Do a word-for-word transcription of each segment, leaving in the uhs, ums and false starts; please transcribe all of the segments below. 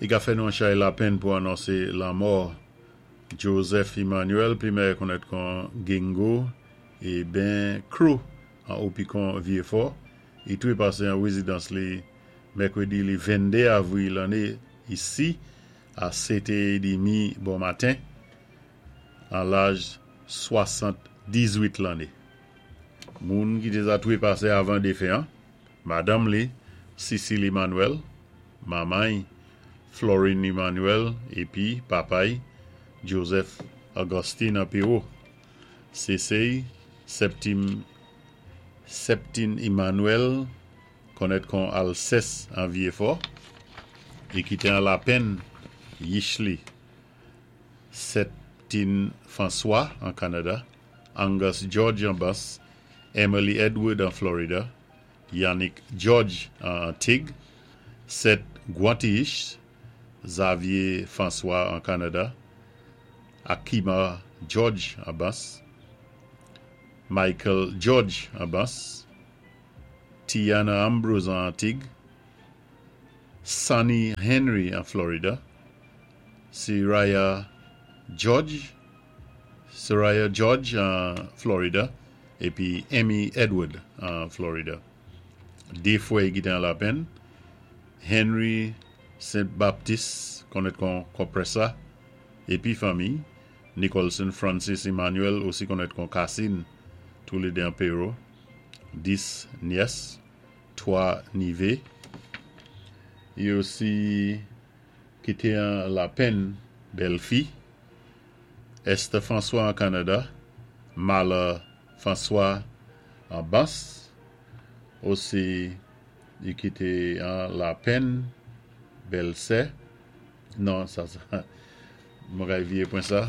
I ka fè nou an chay lapenn pou anonsé lanmò Joseph Emmanuel, pli mèyè konnèt kon Gingo é Ben Crew an Opikon Vyéfò. I twépasé an wézidans li mèkwédi li venndé avwil lanné isi a sèt é demi bon maten an laj swasant-dizwit lanné. Moun ki té za twépasé avan défen an, madanm li, Cécile Emmanuel, manman Florine Emmanuel épi papay Joseph Augustine an Péwo. Séséy Septime Septine Emmanuel konnèt kon Alceste an Vyéfò é kité an lapenn yich li Septine François an Kanada, Angus George an Bas, Emily Edward an Florida, Yannick George an Antig, Seth Guantish, Xavier François an Kanada, Akima George an Bas, Michael George an Bas, Tiana Ambrose an Antig, Sonny Henry an Florida, Soraya George, Soraya George an Florida, épi Amy Edward an Florida. Dé fwè ki té an lapenn, Henry Saint Baptiste, konnèt kon Compressa, épi fanmi, Nicholson Francis Emmanuel, osi konnèt kon Cassine, toulédé an Péro, dis nyès, twa nivé. I osi kité an lapenn bèlfi, Esther François an Kanada, Mala François an Bas, osi i kité an lapenn bèlsè, non, sa, sa, mwen kay vyé pwen sa.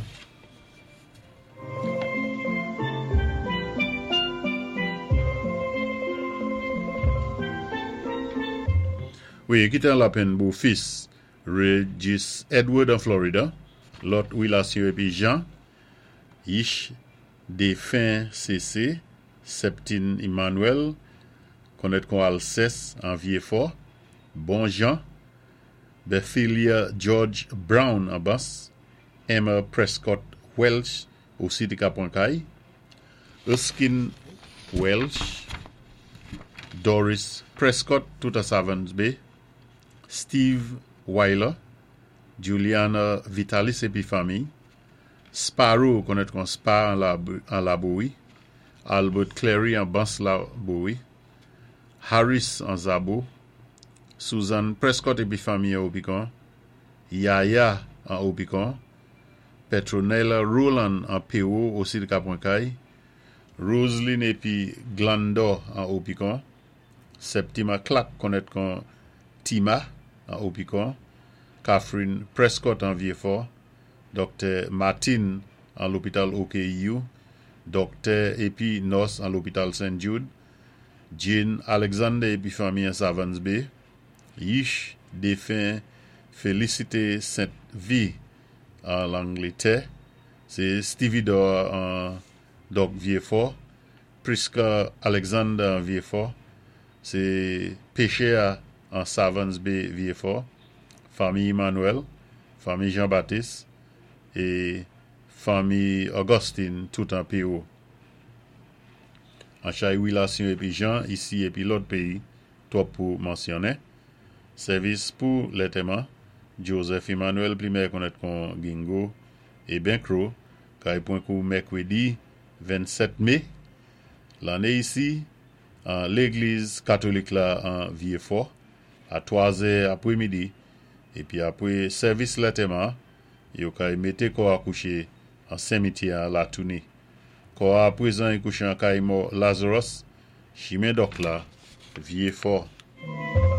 Wi, i kité an lapenn bofis Regis Edward an Florida, lòt wilasyon épi Jean, Yich défen C C, Septine Emmanuel, konnèt kon Alceste an Vyéfò, Bon Jean, Bethilia George Brown an Bas, Emma Prescott Welch, osi té ka pwan kay, Erskine Welch, Doris Prescott, tout a Savans Bay, Steve Weiler, Juliana Vitalis épi fanmi, Sparrow, konnèt kon Spa an, an Labowi, Albert Clary an Bas Labowi, Harris an Zabo, Susan Prescott épi fanmi an Opikon, Yaya an Opikon, Petronella Roland an Péwo, osi té ka pwan kay, Roseline épi Glando an Opikon, Septima Clark, konnèt kon Tima an Opikon, Catherine Prescott an Vyéfò, Doktè Martin an lopital O K U, doktè épi nòs an lopital Saint Jude, Jane Alexander épi fanmi an Savans Bay, Yish défen Félicité Saint-V an Langlétè, sé Stevedore an Dok Vyéfò, Priska Alexander an Vyéfò, sé Péché an Savans Bay Vyéfò, fanmi Emmanuel, fanmi Jean-Baptiste é fanmi Augustine tout an Péwo. An chay wilasyon épi Jean, isi épi lòt péyi, twòp pou mansyonnen. Sèvis pou lantèman, Joseph Emmanuel, pli mèyè konnèt kon Gingo é Ben Crow, kay pwan kou mèkwédi vennsèt mé, lanné isi, an légliz katolik la an Vyéfò, a twa zè apwémidi, épi apwé sèvis lantèman, yo kay mété kò a kouché an simityè an Latouni. Kò a apwézan i kouché an kay mò Lazarus, chimen Dok la, Vyéfò.